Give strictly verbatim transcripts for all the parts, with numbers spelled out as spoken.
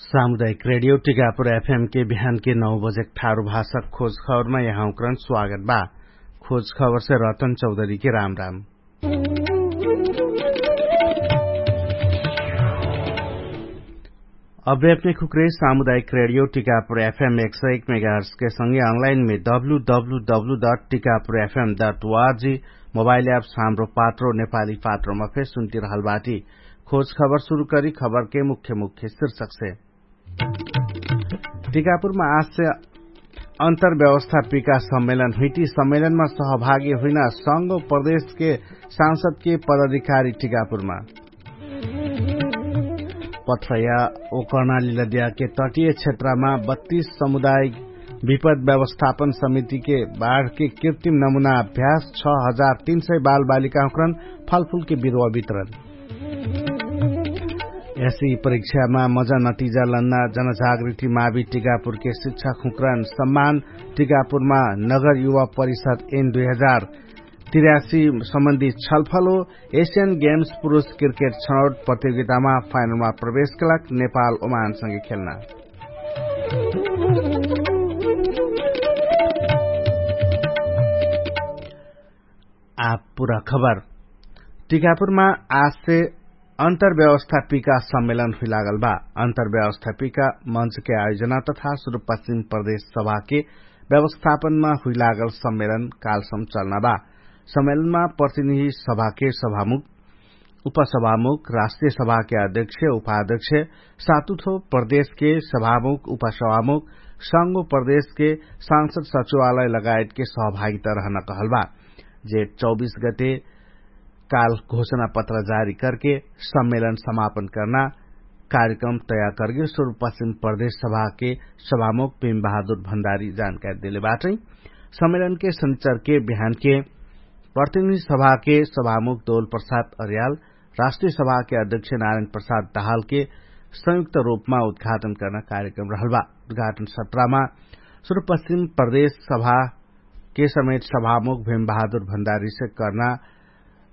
सामुदायिक रेडियो टिकापुर एफएम के बिहान के नौ बजेक ठारु भाषक खोज खबरमा यहाँउक्रन स्वागत बा। खोज खबरसे रतन चौधरी के राम राम। अभ्यापने खुक्रे सामुदायिक रेडियो टिकापुर एफएम एक सय एक मेगाहर्सके संगे अनलाइनमे W W W dot Tikapur एफएम डट वाजी मोबाइल एप्स हाम्रो पात्रो नेपाली पात्रोमा फेर सुन्ति रहल बाटी। खोज खबर सुरु करी खबरके मुख्य मुख्य शीर्षकसे। टिकापुरमा आजसे अन्तर्व्यवस्थापिका सम्मेलन हुइटी सम्मेलनमा सहभागी हुइना संगो प्रदेशके सांसदके पदाधिकारी टिकापुरमा। पथ्रया ओकर्णाली लद्याके तटिय क्षेत्रमा बत्तीस समुदायिक विपद व्यवस्थापन समितिके बाढके कृत्रिम नमुना अभ्यास छ हजार तीन सय बालबालिकाहुँक्रन फलफुलके बिरुवा वितरण। यसी परीक्षामा मजा नतिजा लन्ना जनजागृति मावि टिकापुरके शिक्षाखुँक्रन सम्मान। टिकापुरमा नगर युवा परिषद एन दुई हजार तिरासी सम्बन्धी छलफल हो। एसियन गेम्स पुरुष क्रिकेट छनौट प्रतियोगितामा फाइनलमा प्रवेशके लाग नेपाल ओमानसँगे खेल्ना। आ पुरा खबर। टिकापुरमा आजसे अन्तर्व्यवस्थापिका सम्मेलन हुइलागल बा। अन्तर्व्यवस्थापिका मञ्चके आयोजना तथा सुरुपश्चिम प्रदेश सभाके व्यवस्थापनमा हुइलागल सम्मेलन कालसम चल्ना बा। सम्मेलनमा प्रतिनिधि सभाके सभामुख, उपसभामुख, राष्ट्रिय सभाके अध्यक्ष, उपाध्यक्ष, सातुथो प्रदेशके सभामुख, उपसभामुख, संगो प्रदेशके सांसद सचिवालय लगायतके सहभागिता रहन कहल बा। जेठ चौबीस गते काल घोषणा पत्र जारी करके सम्मेलन समापन कर्ना कार्यक्रम तयार करके सुरुपश्चिम प्रदेश सभाके सभामुख भीम बहादुर भण्डारी जानकारी देले बाटै। सम्मेलनके शनिचरके बिहानके प्रतिनिधि सभाके सभामुख दोल प्रसाद अर्याल, राष्ट्रिय सभाके अध्यक्ष नारायण प्रसाद दाहालके संयुक्त रूपमा उद्घाटन कर्ना कार्यक्रम रहल बा। उद्घाटन सत्रमा सुरुपश्चिम प्रदेश सभाके समेत सभामुख भीम बहादुर भण्डारीसे कर्ना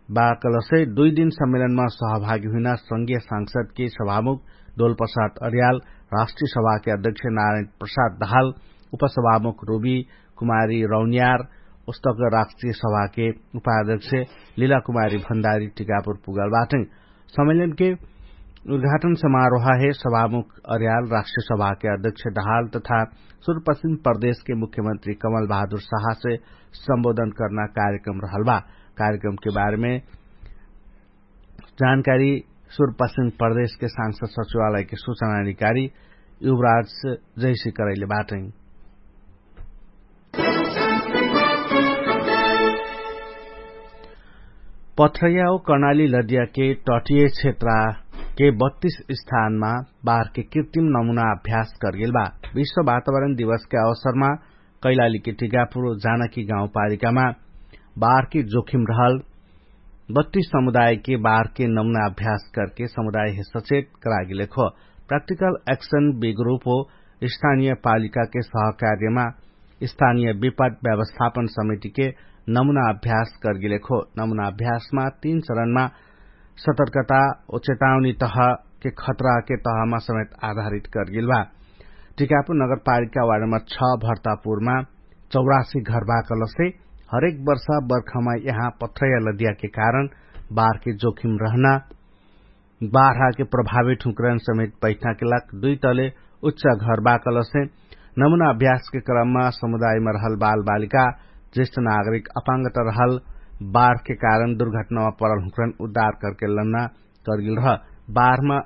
बा कलसे दुइ दिन सम्मेलनमा सहभागी हुइना संगीय सांसदके सभामुख दोल प्रसाद अर्याल, राष्ट्रिय सभाके अध्यक्ष नारायण प्रसाद दाहाल, उपसभामुख रुबी कुमारी रौनियार, उस्तक राष्ट्रिय सभाके उपाध्यक्ष लिला कुमारी भण्डारी टिकापुर पुगल बाटै। सम्मेलनके उद्घाटन समारोह हे सभामुख अर्याल, राष्ट्रिय सभाके अध्यक्ष दाहाल तथा सुरुपश्चिम प्रदेशके मुख्यमन्त्री कमल बहादुर साहसे सम्बोधन कर्ना कार्यक्रम रहल बा। कार्यक्रमके बारेमे जानकारी सुरुपश्चिम प्रदेशके सांसद सचिवालयके सूचनाधिकारी युवराज जैसी करैले बाटै। पथ्रैया ओ कर्णाली लदियाके तटिय क्षेत्रके बत्तीस स्थानमा बारके कृत्रिम नमुना अभ्यास करगेल बा। विश्व वातावरण दिवसके अवसरमा कैलालीके टिकापुर जानकी गाउँपालिकामा बारके जोखिम रहल बत्तीस समुदायके बारके नमुना अभ्यास करके समुदायहे सचेत करागेलेखो। प्राक्टिकल एक्सन बिग्रुप हो स्थानिय पालिकाके सहकार्यमा स्थानिय विपद व्यवस्थापन समितिके नमुना अभ्यास करगेलेखो। नमुना अभ्यासमा तीन चरणमा सतर्कता ओ चेतावनी तहके खतराके तहमा समेत आधारित करगेल बा। टिकापुर नगरपालिका वार्ड नम्बर छ भर्तापुरमा चौरासी घरबाकलसे हरेक वर्षा बर्खमा यहाँ पथ्रैया लदियाके कारण बारके जोखिम रहना बारहाके प्रभावित हुँकरन समेत बैठनाके लाग दुइ तले उच्च घरबाकलसे नमुना अभ्यासके क्रममा समुदायमा रहल बालबालिका ज्येष्ठ नागरिक अपाङ्गत रहल बारके कारण दुर्घटनामा परल हुँकरन उद्धार करके लन्ना करगेल रह। बारहमा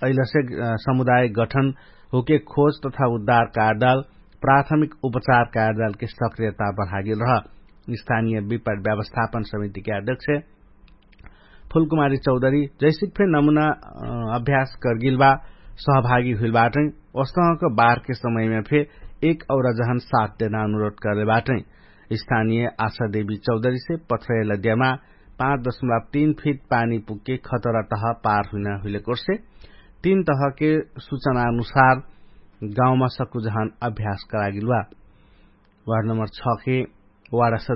अइलसे समुदाय गठन होके खोज तथा उद्धार कार्यदाल प्राथमिक उपचार कार्यदालके सक्रियता बढागेल रह। स्थानिय विपट व्यवस्थापन समितिके अध्यक्ष फुलकुमारी चौधरी जैसिक फे नमुना अभ्यास करगेल बा सहभागी हुइल बाटै। ओस्तहक बारके समयमा फे एक और जहन साथ देना अनुरोध करले बाटै। स्थानिय आशा देवी चौधरीसे पथ्रैया लद्यामा पाँच दशमलब तीन फिट पानी पुग्के खतरा तह पार हुइना हुइले कोर्से तीन तहके सुचना अनुसार गाउँमा सकुजहन अभ्यास करागिलुवा। वार्ड नम्बर छ के वार्ड सदस्य